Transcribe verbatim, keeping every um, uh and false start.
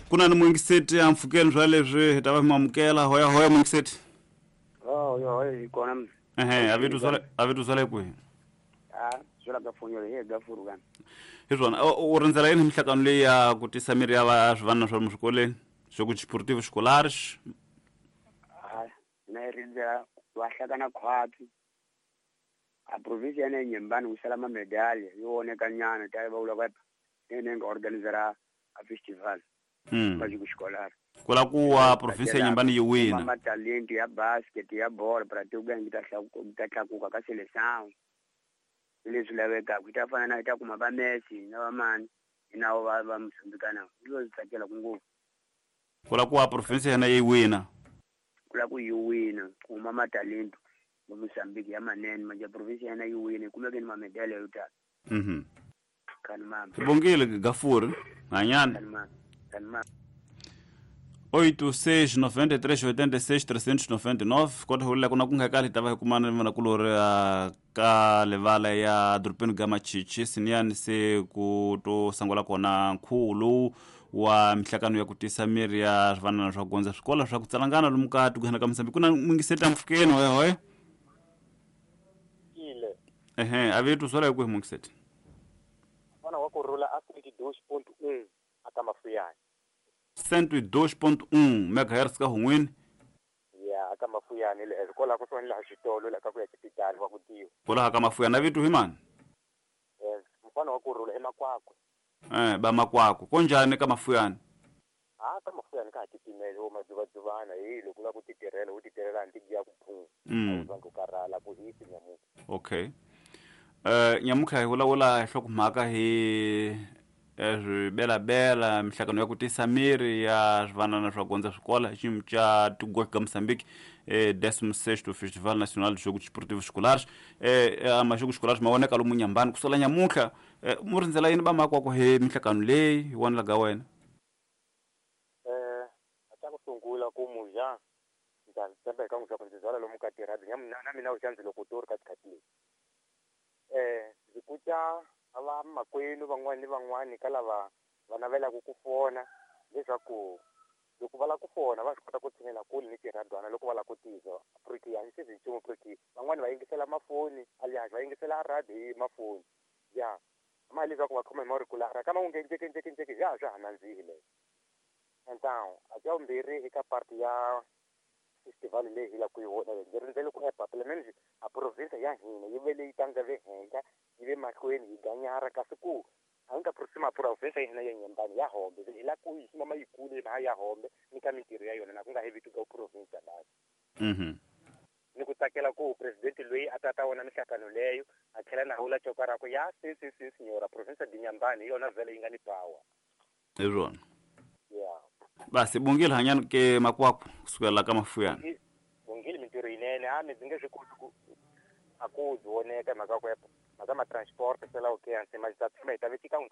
Ku na ni muyingiseti a mpfhukeni swa leswi hi ta va mi amukela. Hoya hoya muyingiseti. Oh, yo hoya hi kona. Ehe, a vito swale a vito swale kwihi? Ah, swela ka fonyolo hi ga furu kan. Hi swona, u rindzela yini mihlangano leyi ya ku tisa miri ya va swivanana swa swikolweni? Jogo desportivo escolares? Ah, na rindzela va hlakana khwatsi. A província ya Inhambane ku sala ma medalha yo oneka nyana ta va vula va ene nga organizera a festival. Mm. Ba jogo escolar. Kula ku wa província ya Inhambane yi wina. Ma talento ya basket ya bola para te ugangi ta ta tlakuka ka seleção. Leswi lavekaka ku ta fana na ta kuma va Messi na va mani na va va Mozambique na. Yo tsakela ku ngopfu. Kula ku wa província ya yi wina. Kula ku yi wina kuma ma talento ya Mozambique ya manene manje província ya yi wina kuma ke ni ma medalha yo tala. Mhm. Kan mama. Bongile Gafuri, hanyana. Kan mama. Kan mama. oito seis noventa e três oitenta e seis trezentos e noventa e nove kota hulela kuna kunga kali tava hikumana ni vanakulori ka levala ya dorobeni ga Machichi siniyani se ku to sangula kona nkhuvo wa mihlangano ya ku tisa miri ya swivanana swa gondza swikolo swa ku tsalangana lomu ka tikweni ka Mozambique. Ku na muyingiseti mpfhukeni hoya hoya. Ile. Ehe, a vitu swala hi kwihi muyingiseti? Mfana wa kurhula a cento e dois ponto um aka Mafuyani. cento e dois ponto um megahertz ka hun'wini. Ya aka Mafuyani le kwala ku sona laha xitolo la ka ku ya xipitali wa ku tiwa. Kwala ka Mafuyani a vitu hi mani? Yes, mfana wa kurhula emakwakwe. Eh, ba makwakwe. Konjani ka Mafuyani? Ah, ka Mafuyani ka titimele wo madzuvadzuvana hi loko la ku titirhela u titirhela ni tigiya ku phunga. Mm. U ku karhala ku hisi nyamuka. Okay. Eh, nyamuka hi vulavula hi hlokomhaka hi swibelabela mihlangano ya ku tisa miri ya swivanana swa gondza swikola xiyimo xa Tigwa ka Mozambique, eh, décimo sexto Festival Nacional de Jogos Desportivos Escolares. Eh, majogos escolares ma voneka lomu Inhambane ku sala nyamutlha. Eh, mu rindzela yini va makwako hi mihlangano leyi hi wona laga wena? Eh, a ku sungula ku muja ndza tshemba eka n'wi swa ku ndzi byala lomu ka tirhadi na mina u xandzi loko tori ka tikhathi leti. Eh, ndzi kutya va makwenu van'wani ni van'wani ka lava va navelaka ku fona leswaku loko va lava ku fona va swi kota ku tshinela kule ni tirhadwana loko va lava ku tizwa porque a ni swi nchumu porque van'wani va yingisela mafoni alias va yingisela radio hi mafoni ya ma leswaku va khoma hi maurikulara kama u nge njeke njeke njeke ya swa ha nandzihi leyo. Então a xa vumbirhi eka parti ya festival leyi hi lava ku yi vona ndzi rindzele ku epa pelo menos a província ya hina yi ve leyi tangave henhla yi ve mahlweni hi ganyara kasi ku a nga proxima província ya hina ya Inhambane ya hombe hi la ku yi sima yikulu hi ya hombe ni ka mintirho ya yona na ku nga hevi tuka província basi. Mhm. Ni ku tsakela ku president loyi a tata wona mihlangano leyo a tlhela na hula coka ra ku ya si si si signora província de Inhambane hi yona vhele yi nga ni power. Hi swona. Yeah. Basi bongile hanyani ke makwakwe kusukela ka Mafuyani. Bongile mintirho yinene a mi ndzi nge swi koti ku a ku byi voneka mhaka ku mhaka ma transport se la okay hansi ma ta tshama hi ta vetika n'wi